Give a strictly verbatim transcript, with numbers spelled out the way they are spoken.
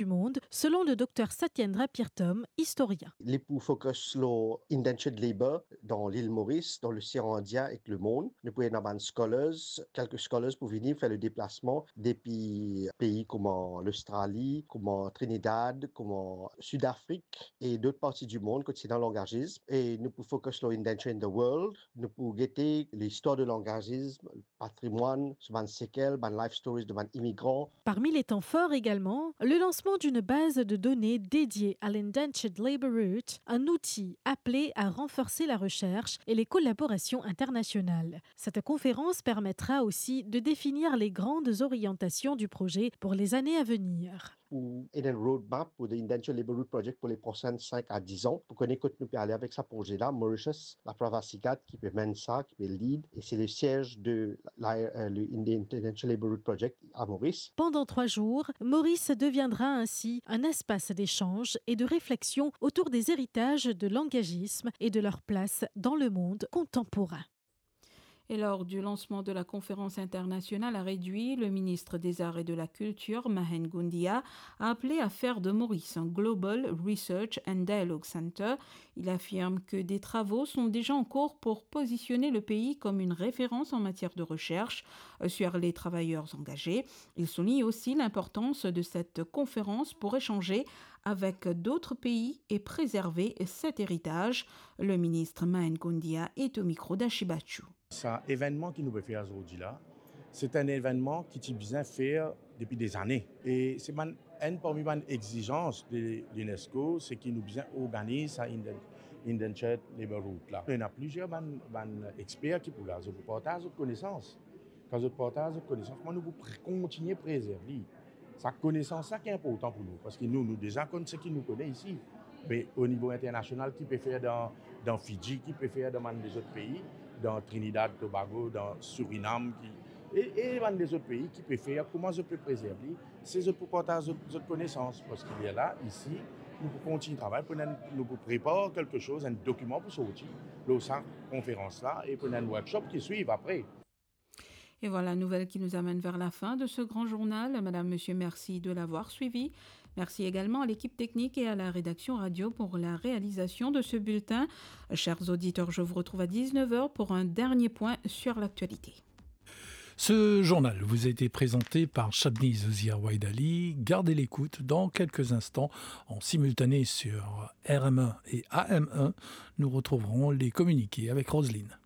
du monde, selon le docteur Satyendra Pirthom, historien. Li pou focus lor indentured labour dan lil Moris, dan losean Indien ek lemond. Nou pou ena bann scholars, kelke scholars pou vini fer le deplasman depi pei kouma Lostrali, kouma Trinidad, kouma Sidafrik e dot parti du mond kot ena langazism. E nou pou focus lor Indenture in the World. Nou pou gete listwar de langazism, patrimwann, so bann sekel, bann life stories de bann imigran. Parmi les temps forts également, le lancement d'une base de données dédiée à l'Indentured Labour Route, un outil appelé à renforcer la recherche et les collaborations internationales. Cette conférence permettra aussi de définir les grandes orientations du projet pour les années à venir. Pou ena enn roadmap pou the Indentured Labour Route Project pou le prosin sink a diz an, pou kone kot nou pe ale avek sa proze la. Mauritius, Laprava Sigat ki pe menn sa, ki pe lead, e se le siez de la, euh, le Indentured Labour Route Project à Maurice. Pendant trois jours, Maurice deviendra ainsi un espace d'échange et de réflexion autour des héritages de l'engagement et de leur place dans le monde contemporain. Et lors du lancement de la conférence internationale à Redui, le ministre des Arts et de la Culture, Mahen Goundiya, a appelé à faire de Maurice un Global Research and Dialogue Center. Il affirme que des travaux sont déjà en cours pour positionner le pays comme une référence en matière de recherche, euh, sur les travailleurs engagés. Il souligne aussi l'importance de cette conférence pour échanger avec d'autres pays et préserver cet héritage. Le ministre Mahen Goundiya est au micro d'Ashi Bachou. Sa evennman ki nou pe fer azordi la, se enn evennman ki ti bizin fer depi dezane. E se bann, enn parmi bann egzizans de l'UNESCO, se ki nou bizin organiz sa Inden-, Indentured Labour Route la. Ena plizier bann, bann exper ki pou la, zot pou partaz zot konesans. Kan zot partaz zot konesans, kouma nou pou pre-, kontigne prezerv li. Sa konesans la ki inportan pou nou, parski nou, nou deza konn seki nou kone isi. Me o nivo internasional, ki pe fer dan, dan Fidji, ki pe fer dan bann lezot pei, dan Trinidad, Tobago, dan Surinam, ki, e, e bann lezot pei ki pe fer, kouma zot pe prezerv li, se zot pou partaz zot, zot konesans, parski lerla, isi, nou pou kontign travay, pou nou, nou pou prepar kelke soz, enn dokiman pou sorti lor sa konferans la, e pou ena enn workshop ki swiv apre. Et voilà, nouvelle qui nous amène vers la fin de ce grand journal. Madame, monsieur, merci de l'avoir suivi. Merci également à l'équipe technique et à la rédaction radio pour la réalisation de ce bulletin. Chers auditeurs, je vous retrouve à dix-neuf heures pour un dernier point sur l'actualité. Ce journal vous a été présenté par Shabni Zozia Waidali. Gardez l'écoute dans quelques instants en simultané sur R M un et A M un. Nous retrouverons les communiqués avec Roselyne.